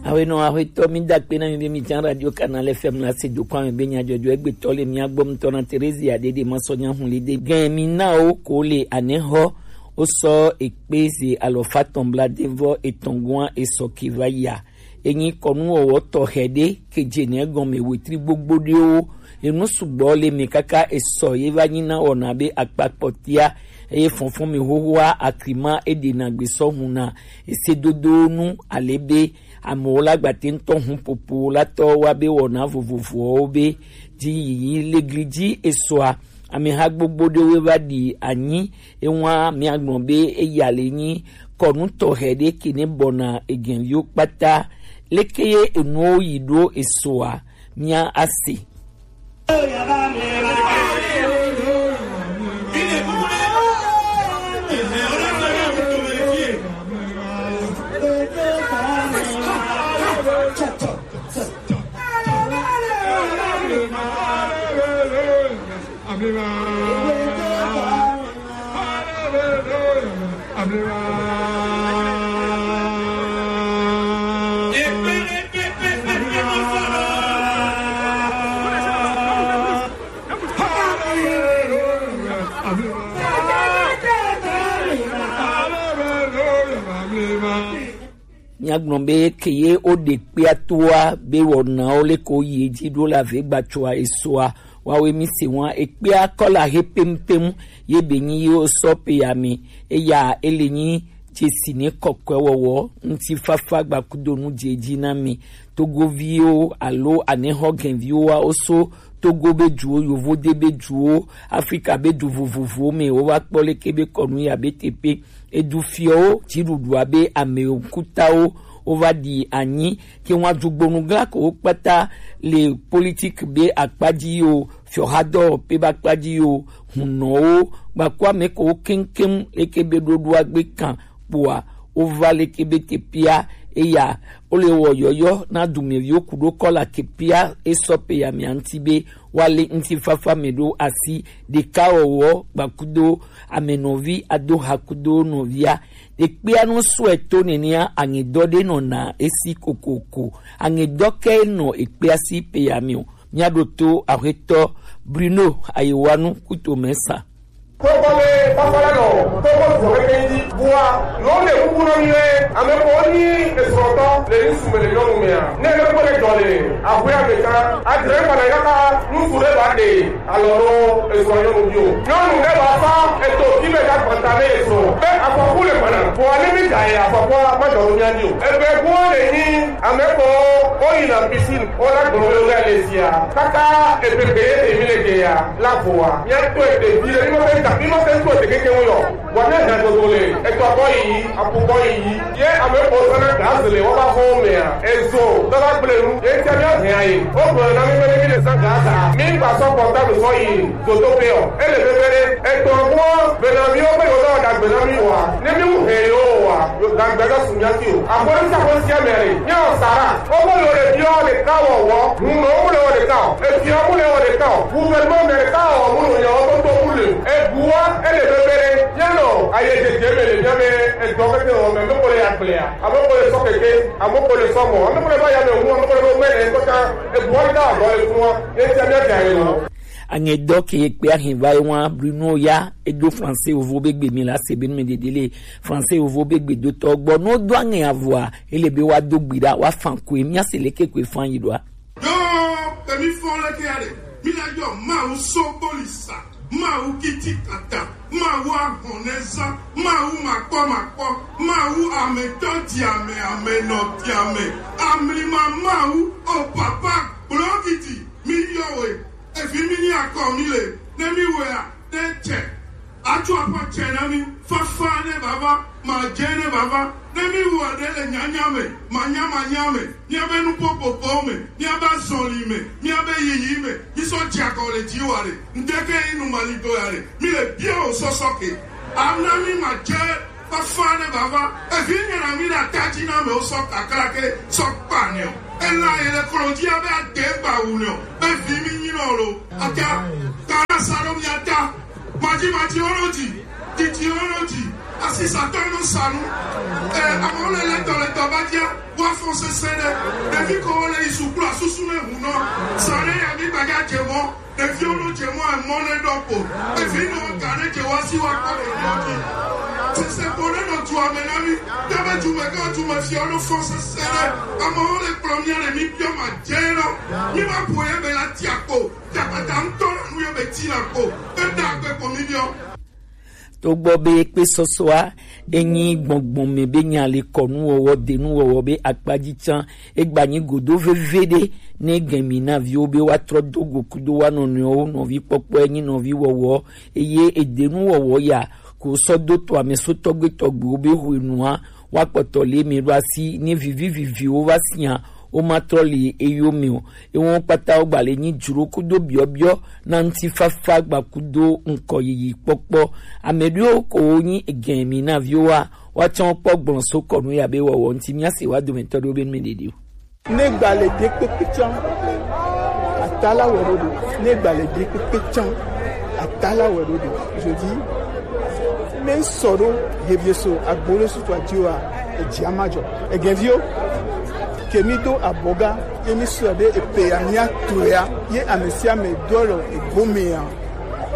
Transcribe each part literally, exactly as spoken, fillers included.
Awenɔ axwetɔ, mi da akpe na mi be mi jan Radio Canal F M la se do kɔ ame be nyadzɔdzɔ egbetɔ le mia gbɔ ŋutɔ na Terezia Dede Masɔnya Hunlide. Gɛn mi na wo ko le anɛxɔ wosɔ ekpe ze alɔfa tɔn bla devɔ etɔn gɔn esɔ ke va yia. Enyi kɔnuwɔwɔ tɔxɛ ɖe ke dze nɛ gɔme wetri gbogbo ɖewo. Enu sugbɔ le mɛ kaka esɔ ye va nyi na wɔna be akpa kpɔtia, eye fɔnfɔn mi xoxoa akrima eɖe na gbe sɔ hun na esedodo nu ale be amewo la gbate ŋutɔ hun popo la tɔ wa be wɔna vovovowo be dzi yiyi le gli dzi esɔa. Ameha gbogbo ɖewo va ɖi anyi, ewa miagblɔ be eya le nyi kɔnu tɔxɛ ɖe ke ne bɔna egɛnviwo kpata. Leke ye enuwo yi ɖo esoa? Mia ase. Miagblɔ be ke ye woɖe kpea toa be wɔnawo le ko yi edzi ɖo le ave gbatsoa esoa, wawe mi se wa ekpea kɔla he pempem ye be nyi ye wosɔ pe ya me. Eya ele nyi dzesi ne kɔkɔe wɔwɔ ŋutifafa gbakudonu dze edzi na mi. Togoviwo alo anehɔ gɛnviwo wa woso Togo be duwo, Yovode be duwo, Afrika be du vovovowo me wova kpɔ leke be kɔnu ya be teƒe. Edufiɔwo, dziɖuɖua be ame ŋkutawo wova ɖi anyi, ke ŋua dzugbɔnu gla ko wo kpata le politik be akpa dzi yo, fiɔhadɔwɔƒe be akpa dzi yo, hunɔwo, gbaku ame ko wo keŋkeŋ leke be ɖoɖoa gbe kan kpoa wova leke be teƒea eya wole wɔ yɔyɔ na dumeviwo ku ɖo kɔla ke pia esɔ pe ya mia ŋuti be woalé ŋutifafa me ɖo asi ɖekawɔwɔ gbakudo amenɔvi ado ha kudo nɔvia. Ɖekpea nu sɔe to nenea, aŋedɔ ɖe nɔna esi kokoko. Aŋedɔ ke nɔ ekpea si pe ya me o. Míaɖo to Aƒetɔ Bruno Ayewanu Kutomesa. Togo be fafa la nɔ Togo duɔ keke dzi. Bua, nɔ le kuku nɔ mi lɛ, ame ko ni esrɔ̃tɔ le ŋsu me le nyɔnu mea. Ne ele kpɔ le dɔ le aƒea me kan, adre kpana ya ka ŋsu le ba de alɔ ɖo esrɔ̃ nyɔnu bi o. Nyɔnu ɖe ba fa eto ti me ka gbanta ne esrɔ̃. Be afɔku le kpana. Bua ne mi da ye afɔkua ma dɔ mia di o. Ebe bua le nyi ame ko o yi na piscine. Wona gblɔ be wole le zia. Kaka egbegbe ye mi le dze ya la voa. Mia to ete vi le mi ma fe ta mi ma fe to ete keke wo yɔ. Wa ne hɛn dodo le etɔ kɔ yi apu kɔ yi. Ye ame ko sana gaz le wo ba ho mea. Ezo dɔla gble nu. Ye tia mia hɛn ayi. O gblɔ na mi be mi le sa gaz a. Mi gba sɔ kɔta mi sɔ yi. Zotoƒe o. Ele bebe ɖe. Etɔ gbɔ bena mi wo be wo dɔ dagbe na mi wa. Ne mi wu hɛn yo wa. Yo dagbe na su mia ti o. Aƒe ɖe sia ƒe sia me le. Mia wɔ sara. Wo be yo le biɔ ɖeka wɔwɔ. Ŋu nɔ wo le wɔ ɖeka o. Efia wo le wɔ ɖeka o. Gouvernement Amerika wɔ mu nɔ ya wo be to mu le. Ebua ele bebe ɖe. Mia nɔ aye dzedze me le mia be edɔ keke wɔ me, ame ko le ya gblea. Ame ko le sɔ keke. Ame ko le sɔ mɔ. Ame ko le va ya me wu. Ame ko le be me le kɔta. Ebua ɖe da dɔ le fun wa. Etia mia da ye lɔ. Aŋedɔ ke kpe ahin va yi wa Bruno ya edo Français Yovo be gbe mi la se be nu me dede le Français Yovo be gbe do tɔ gbɔ. No do aŋe avua ele be wa do gbi ɖa wa fan ko mi ase leke ko fan yi ɖoa. Yo, emi fɔ leke ya ɖe. Mi na yɔ Mawu Sobolisa, Mawu Kitikata, Mawu Ahɔnɛza, Mawu Makpɔmakpɔ, Mawu Ametɔ Diame, Amenɔ Diame, Amlima Mawu, o Papa Gblɔgidi, mi yɔ we. Evi mi ni akɔ mi le, ne mi wea, ne tsɛ. Atsɔ aƒe tsɛ na mi, fafa ne bava, madze ne bava, ne mi wɔ ɖe le nyanya me, manya manya me, miabe nuƒoƒoƒewo me, miabe azɔli me, miabe yiyi me, mi sɔ dze akɔ le dzi wa ɖe, ŋdeke yi nu mali do ya ɖe, mi le bia o sɔsɔ ke. Ana mi madze fafa ne bava. Evi nyina mi ɖe ata dzi na amewo sɔ kakla ke sɔ kpa nɛ o. Ela yi le klo dzi abe ade gba wu nɛ o. Be vi mi nyi nɔ lo. Ata kana sa ɖo mi ata. Madzi madzi wo ɖo dzi. Titi wo ɖo dzi. Asisatɔ nɔ sa nu. Ɛ, amewo le lɛtɔ lɛtɔ ba dzia. Wa Fɔn sese ɖe, ɖevi ko wo le yi sukulu asusu ne ŋu nɔ. Sa ɖe ya mi gbaga dze mɔ, ɖeviwo nɔ dze mɔ emɔ ne ɖɔ ko. Ɖevi nɔ ga ne dze wa si wa kpɔ ɖe nɔ dzi. Sese ko ne nɔ dua me na mi, ɖe be dume gã dume fia wo nɔ fɔn sese ɖe. Amewo le kplɔ mia le mi biɔ ma dze nɔ. Mi ma ƒo ye be la tia ko. Yakpata ŋutɔ la nu ye be ti la ko. Eda gbe ko mi biɔ. Togbɔ be kpe sɔsɔa enyi gbɔngbɔn me be nya le kɔnuwɔwɔ, denuwɔwɔ be akpaji can, egba nyi godo veve ɖe ne gɛmi na viwo be woatrɔ do go kudo wa nɔnɔewo nɔvi kpɔkpɔ enyi nɔvi wɔwɔ, eye edenuwɔwɔ ya ko sɔ do to amesotɔgbe tɔgbewo be hwenua woakpɔtɔ le mi ɖo asi ne vivi viviwo va sia, wo ma trɔ le eyo me o. Ewo kpata wo gba le nyi dzro kudo biɔbiɔ na ŋutifafa gba kudo ŋkɔ yiyi kpɔkpɔ. Ame ɖewo ko wo nyi egɛn mi na viwo wa, woatsɔ kpɔ gblɔ so kɔnu ya be wɔwɔ ŋuti mia se wa dometɔ ɖewo be nu me ɖeɖi o. Ne gba le de kpekpe can, atala wɛ ɖo ɖo. Ne gba le de kpekpe can, atala wɛ ɖo ɖo. Je dis, ne ŋsɔ ɖo hevie so agbo ɖe sutu adi wa, eji ama jɔ. Egɛnvio, ke mi do abɔga, ye mi sɔ ɖe epe ya mi ato ya, ye ame sia ame do alɔ egome ya.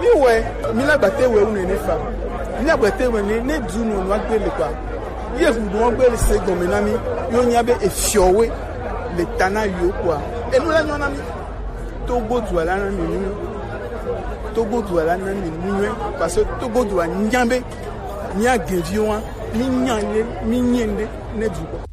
Mi wɛ, mi la gbate wɛ wu nene fa. Mi la gbate wɛ ne, ne du nɔ nua gbe le kpa. Ye hu nua gbe le se gɔme na mi, yo nya be efiɔ we le ta na yo kpa. Enu la nyɔ na mi. Togo du ala na mi nu. Togo du ala na mi nu, parce que Togo du a nya be mi agɛnvio wa, mi nya ne, mi nye ne, ne du kpa.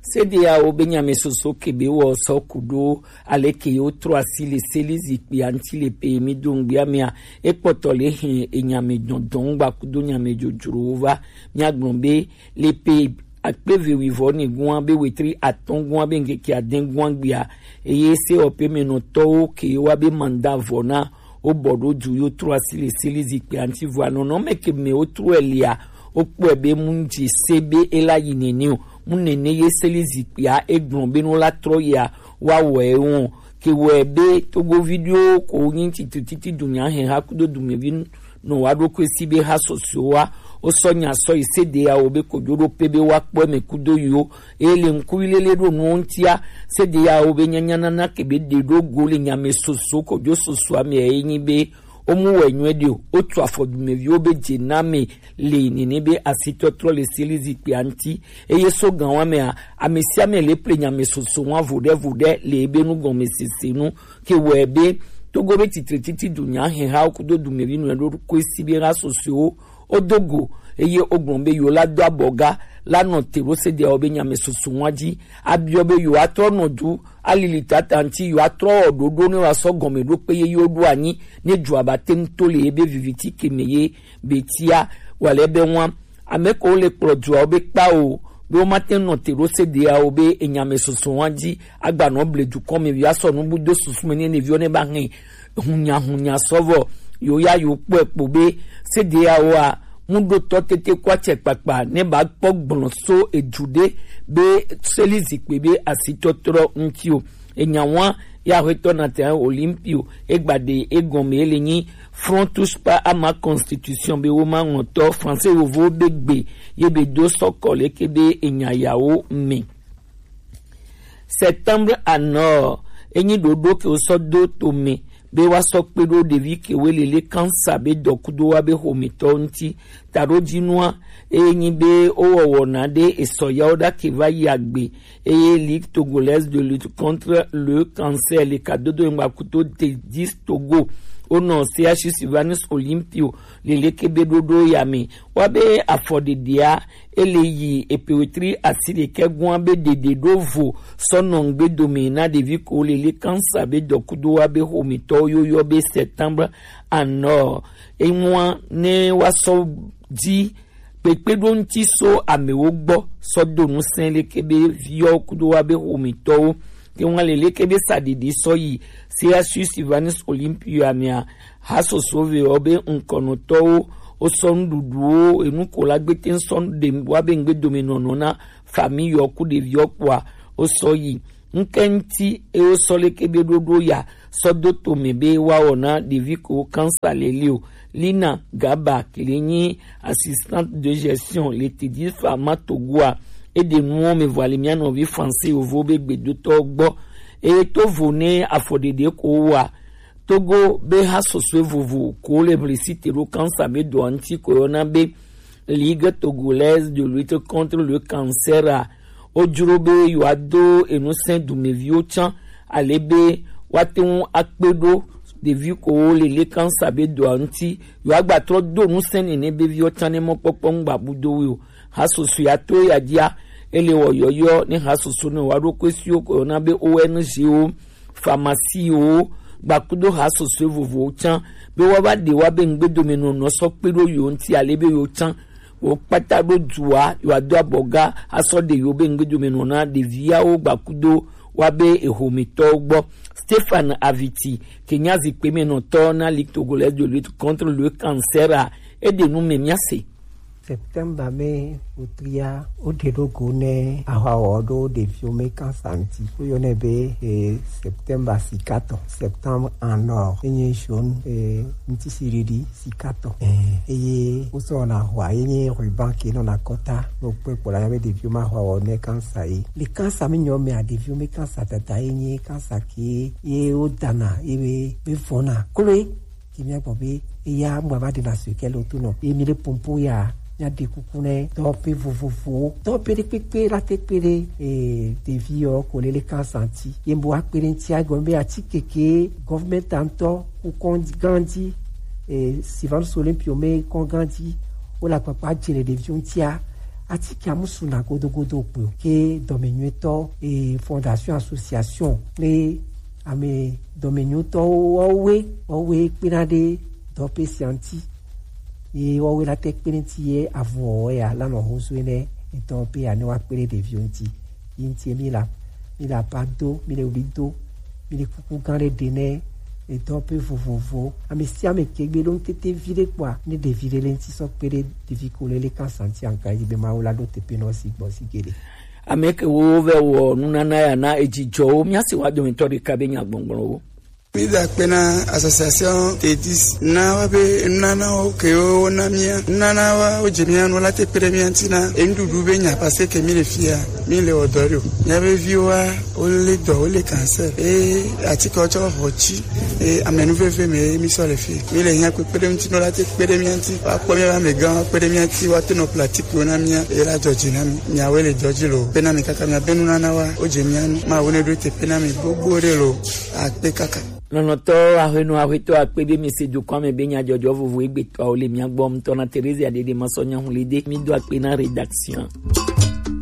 Sede ya wo be nyame soso ke be wɔ sɔ kudo aleke yo trɔ asi le seli zikpui anti le pe mi do ŋgbia mea, ekpɔtɔ le hin enyame dɔndɔn gba kudo nyame dzodzro wo va. Mia gblɔ be le pe akpe ve wi vɔ ne gua be wetri atɔn gua be ŋkeke aden gua gbia, eye se ɔpe me nɔtɔwo ke wa be manda vɔ na wo bɔ ɖo du yo trɔ asi le seli zikpui anti vɔ anɔnɔ me ke me wo trɔ elia, wo kpɔe be mu ŋdzi se be ela yi nene o, mu nene ye seli zikpuia egblɔ be no la trɔ yia wa wɔe wɔn. Ke wɔe be togovi ɖewo ko nyi titi titi dunya hɛn ha kudo dumevi nɔ wa ɖo ko esi be ha sɔsɔe wa, wo sɔ nya sɔ yi sede ya wo be kojo ɖo pe be wa kpɔe me kudo yo. Eye le ŋkuvi lele ɖo nuwo ŋutia, sede ya wo be nyanya nana ke be ɖe ɖo go le nyame soso kojo soso ame ye nyi be wo mu wɛ nyuie ɖe o, wo tu afɔ dumeviwo be dze na me le nene be asitɔtrɔ le seli zikpui anti. Eye so gan wa mea, ame sia ame le ple nyame soso wa vo ɖe vo ɖe le ebe nu gɔme sese nu. Ke wɔe be togo be titre titi dunya hɛn ha wo kudo dumevi nu ɖo ko esi be ha soso wo do go, eye wo gblɔ be yo la do abɔga la nɔ te ɖo sede ya wo be nyame soso wa dzi. Abiɔ be yo atrɔ nɔ du alili tata ŋuti yo atrɔ wɔ ɖoɖo ne wa sɔ gɔme ɖo kpe ye yo ɖo anyi ne dzua ba te ŋu to le ye be viviti ke me ye be tia wa le be wa. Ame ko le kplɔ dua wo be kpa o, be wo ma te nɔ te ɖo sede ya wo be enyame soso wa dzi agba nɔ ble dukɔ me via sɔ nu bu do susu me ne neviwo ne ba hɛn hunya hunya sɔvɔ. Yo ya yo kpɔe kpo be sede ya wo a mu ɖo tɔ tete kɔ atsɛ kpakpa ne ba kpɔ gblɔ so edu ɖe be seli zikpui be asitɔtrɔ ŋuti o. Enya wa ya hwetɔ na te Olympio egba ɖe egɔme ele nyi Front touche pas à ma constitution be wo ma ŋɔtɔ français wovo be gbe ye be do sɔkɔ leke be enya yawo me. Septembre à nord enyi ɖoɖo ke wo sɔ do to me be wa sɔ kpe ɖo ɖevi ke we lele kansa be dɔkudo wa be xometɔ ŋuti. Taɖodzinua eye nyi be wo wɔwɔ na ɖe esɔ yawo ɖa ke va yi agbe eye Ligue togolaise de lutte contre le cancer le kadodo ŋgba kuto te dix Togo wonɔ C H U Sylvanus Olympio leleke be ɖoɖo ya me wa be afɔɖeɖea ele yi epe wetri asi ɖekɛ gua be ɖeɖe ɖo vo sɔ nɔ ŋgbe dome na ɖevi ko lele kansa be dɔkudo wa be xometɔwo yo yɔ be septembre anɔ enua ne wa sɔ dzi kpekpeɖoŋuti so amewo gbɔ sɔ do ŋusẽ leke be viwo kudo wa be xometɔwo ke ŋua le leke be saɖiɖi sɔ yi C H U Sylvanus Olympio amea ha soso ve wɔ be ŋkɔnɔtɔwo wo sɔ nuɖuɖuwo enu ko la gbete sɔ ɖe wa be ŋgbe dome nɔnɔ na fami yɔ ku ɖeviwo kpoa wo sɔ yi ŋkɛŋti eye wo sɔ leke be ɖoɖo ya sɔ do tome be wa wɔ na ɖevi ko kansa leleo. Lina Gaba ke le nyi assistante de gestion le Teddy Pharma Togoa E ɖe nuwo me vɔ ali mía nɔvi Fransi yovo be gbedotɔ gbɔ. Eye to vo ne afɔɖeɖe ko wa Togo be ha sɔsɔe vovo ko le blesite ɖo kansa be dɔa ŋuti ko yɔna be Ligue Togolaise de Lutte contre le Cancer a, wodzro be yewoado enusẽ dumeviwo tsã, ale be woate ŋu akpe ɖo ɖevi kowo le le kansa be dɔa ŋuti, yewoagbatrɔ do ŋusẽ nene be viwo tsã ne mɔkpɔkpɔ ŋugbabudowoe o. Hasoso ya to ya dzia, ele wɔ yɔyɔ ne hasoso ne woaɖo kɔe siwo ko yɔna be O N G wo, pharmacie wo, gbakudo hasoso vovovowo tsã, be woava ɖe woa be ŋugbedomenɔnɔ sɔ kpe ɖo yewo ŋuti, ale be yewo tsã wo kpata ɖo dua, yewoado abɔga asɔ ɖe yewo be ŋugbedomenɔnɔ na ɖeviawo gbakudo woa be ehometɔwo gbɔ. Stéphane Aviti, ke nye azikpuimenɔtɔ na Ligue Togolaise de Lutte contre le Cancer a, eɖe nu me míase. Septembre me wotria woɖe ɖo go ne ahwawɔ ɖo ɖeviwo me kansa ŋuti. Woyɔnɛ be eh, Septembre sikatɔ, Septembre en or. Enye jaune eh, ŋutisiɖiɖi sikatɔ. Eh, eye wosɔ wɔna hwa ye nye ruban ke nɔna kɔta. No kpe kpɔ la be ɖeviwo ma hwa wɔ ne kansa ye. Le kansa mi nyɔ mea ɖeviwo me kansa tata ye nye kansa ke ye wo dana ye be be vɔna. Klo ye ke mia gbɔ be eya mu ava ɖe na so ke le to nɔ. Ye mi le pompo ya mia ɖe kuku ne dɔwɔƒe vovovowo. Dɔwɔƒe ɖe kpekpe la te kpe ɖe eh, ɖevi yɔ ko le le kansa ŋuti. Ye bo akpe ɖe ŋuti agɔ be atike ke gɔvmɛnti ŋutɔ ku kɔndzi gãdzi eh, Sylvanus Olympio me kɔn gãdzi wo le akpakpa dze le ɖeviwo ŋutia. Atike amusu na godogodo kpe o. Ke dɔmenyuitɔ eh, fondation association kple ame dɔmenyuitɔwo wɔwoe wɔwoe kpena ɖe dɔwɔƒe sia ŋuti. Ye wɔwoe la te kpe ɖe ŋuti ye avɔ ya la nɔ hozoe ne etɔ pe ya ne wa kpe ɖe ɖeviwo ŋuti. Yi ŋuti mi la mi le apa do, mi le ɣli do, mi le kuku gã ɖe ɖe ne edɔ pe vovovo. Ame sia ame ke gbe ɖo ŋutete vi ɖe kpɔa, ne ɖevi ɖe le ŋuti sɔ kpe ɖe ɖevi ko le le kansa ŋuti anka yi be Mawu la ɖo teƒe nɔ si gbɔ si geɖe. Ame ke wo vɛ wɔ nunana ya na edzidjɔwo, míase wa dometɔ ɖeka be nyagbɔgblɔwo. Mi da akpe na association T dix na wa be nunanawo ke wo na mía nunana wa wo dze mía nu la te kpe ɖe mía ŋuti na enuɖuɖu be nya parce que mi le fia mi le wɔ dɔ ɖo mía be viwo wa wo le dɔ wo le cancer e atike wo tsɔ xɔ tsi e amenuveve me mi sɔ le fi mi le hiã kpekpe ɖe ŋuti nɔ la te kpe ɖe mía ŋuti wa kpɔ mía be amegã wa kpe ɖe mía ŋuti wa te nɔ pratique wo na mía e la dzɔ dzi na mi miawoe le dɔ dzi lo pe na mi kaka mía be nunana wa wo dze mía nu ma wo ne ɖo te pe na mi gbogbo ɖe lo akpe kaka. Lɔlɔ̃tɔ aƒenɔ aƒetɔ akpe be mi se dukɔa me be nyadzɔdzɔ vovo egbetɔawo le mia gbɔ ŋutɔ na Terezia Dede Masɔ Nyahulide. Mi do akpe na rédaction.